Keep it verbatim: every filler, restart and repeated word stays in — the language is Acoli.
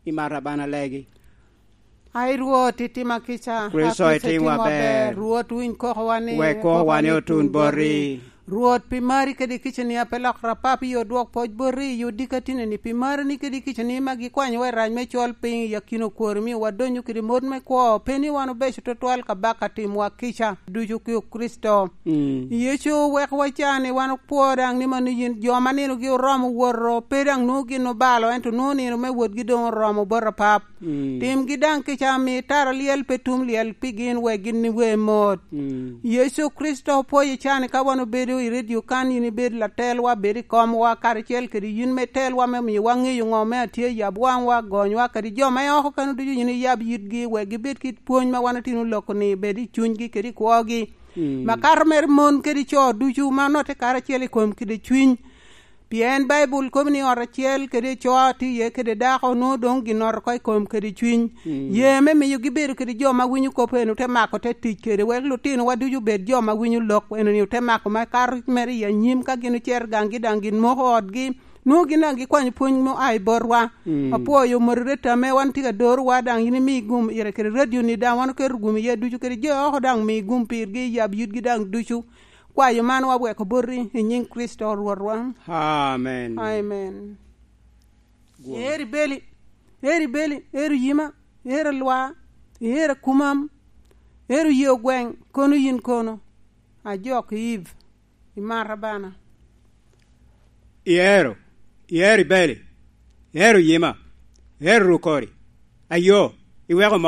Imara bana legi. Ai Rwot itima kica. Kristo Kristo itimwa ber. Rwot winj kokowa ni. Wek kokowa ni otun boti. Rwot pi mari kede kicani ape lok rapap iyo dwok poc boti iyo dika tineni pi marani kede kicani ma gikwanyowa i rac me col piny i akino kwori miyo wadonyo kede mot me kwo pe ni wan obeco twatwal kabaka timwa kica ducu ki Kristo. Mm. Yecu wek wacani wan okwo dang ni mano yin jo ma ninogi oromo woto pe dang nongo gin obalo ento nongo nino me wotgi dong oromo bot apap. Mm. Timgi dang kica mi tara liel pe tum liel pi gin wek gin we mot. Mm. Yecu Kristo pwoyo cani ka wan obedo i redio kan in ibed latelwa bed i komwa karacel kede yin me telwa me miyo wang'eyo ngo me atye yab wangwa gonywa kadi jo ma oko kano ducu yin iyab yitgi wek gibed ki pwony ma wan otino loko ni bed i chunygi kede i kwogi. Mm. Makato mere mon kede co ducu ma note karacel i kom kede cwiny pien Baibul kobo ni ot acel kede co tye iye kede dako nongo dong ginoto ko i kom kede cwiny. Mm. Ye me miyo gibedo kede jo ma winyo kop eno te mako te tic kede wek lutinowa ducu obed jo ma winyo lok eno ni te mako ma kato mere i anyim ka gin ocito ganggi dang gin moko otgi nongo gin dang gikwanyo pwony mua i botwa. Mm. Apwoyo moderator me wan tye ka dorowa dang in imi gum ire kede radio ni dang wan oketo gum iye ducu kede jo oko dang mi gum pirgi yab yitgi dang ducu. Kwayo man waweko boti i nying Kristo Rwotwa. Amen. Amen. Gwom. Eri beli, eri beli, eri yima, eri lwa, eri kumam, eri yeo gweng, kono yin kono. Ajok Eve, imara bana. Ihero, ihero ibeli, ihero yima, ihero rukori, ayo, iweko moko